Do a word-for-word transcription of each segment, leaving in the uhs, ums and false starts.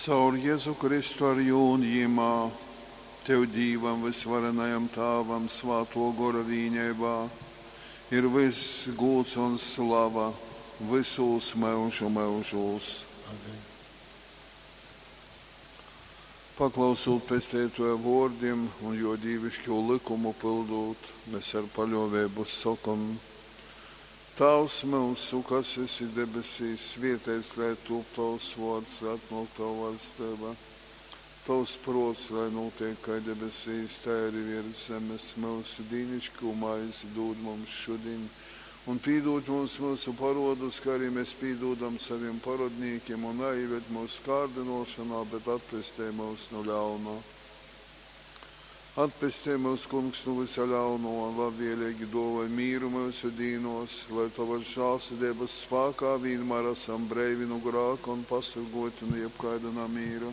Caur Jezu Kristu ar Jū un Jymā, Tev Dīvam vysvarenajam Tāvam Svātō Gora vīneibā ir vyss gūds un slava vysūs myužu myužūs. Amen. Paklausūt Pesteitōja vōrdim un Jō dīviškū lykumu pyldūt, mes ar paļōveibu sokom, Tāvs myusu, kas esi debesīs, svēteits lai tūp Tovs vōrds, lai atnōk Tova vaļsteiba. Tovs prōts, lai nūteik kai debesīs, tai arī viers zemes. Myusu dīniškū maizi dūd mums šudiņ, un pīdūd mums myusu parodus, kā arī mēs pīdūdam saviem parodnīkiem, un naieved mūsu kārdinošanā, bet atpestej mūs no ļauna. Atpestej mūs, Kungs, no visa ļauno, un labvēlīgi dāvāj mīru mūsu dīnos, lai Tavas žēlsirdības spēkā vienmēr esam breivi no grāka un pasargoti no jebkaida namīra.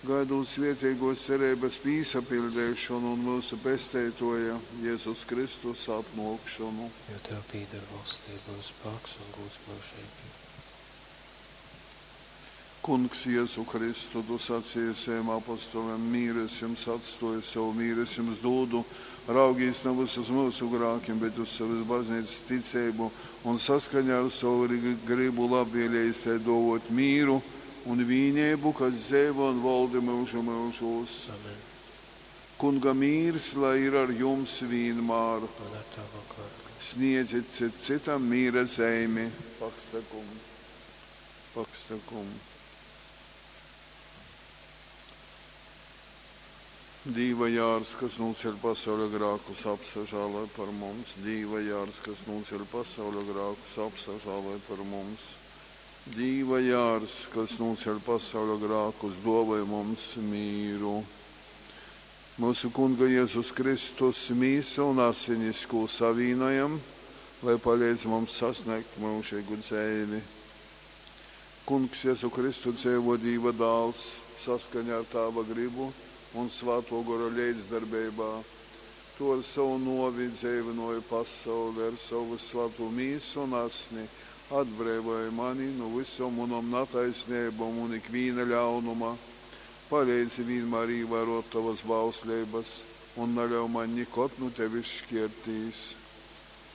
Gaidot svētīgos cerības pīsapildīšanu un mūsu Pesteitoja Jēzus Kristus atnākšanu. Jo Tev pīder valstība un spēks un gods mūžīgi. Kungs Jēzu Kristu, tu sacīji saviem apostoliem, mīru es jums atstoju, savu mīru es jums dodu, raugīs nevis uz mūsu grākiem, bet uz savas baznīcas ticību un saskaņā ar savu gribu labvēlējis tai dovot mīru un vīnību, kas dzīvo un valda mūžu mūžos. Amen. Kunga mīrs, lai ir ar jums vienmēr. Un ar Tavu garu. Sniedziet cit citam mīra zeimi. Pakstakum. Pakstakum. Dīva jārs, kas nūceļ pasaules grākus, apsažāloj par mums. Dīva jārs, kas nūceļ pasaules grākus, apsažāloj par mums. Dīva jārs, kas nūceļ pasaules grākus, dāvāj mums mīru. Mūsu Kunga Jēzus Kristus mīsa un asinis, ko savīnojam, lai palīdz mums sasniegt mūžīgu dzīvi. Kungs Jēzu Kristu dzīvo Dīva dāls saskaņā ar Tāva gribu un Svēto Gora līdzdarbībā. Tu ar savu novi dzīvinoji pasauli, ar savu svēto mīsu un asni, atbrīvoji mani no visom manām netaisnībām un ikviena ļaunuma. Palīdzi vienmēr ievērot tavas bauslības un neļauj man nekad no tevis šķirties.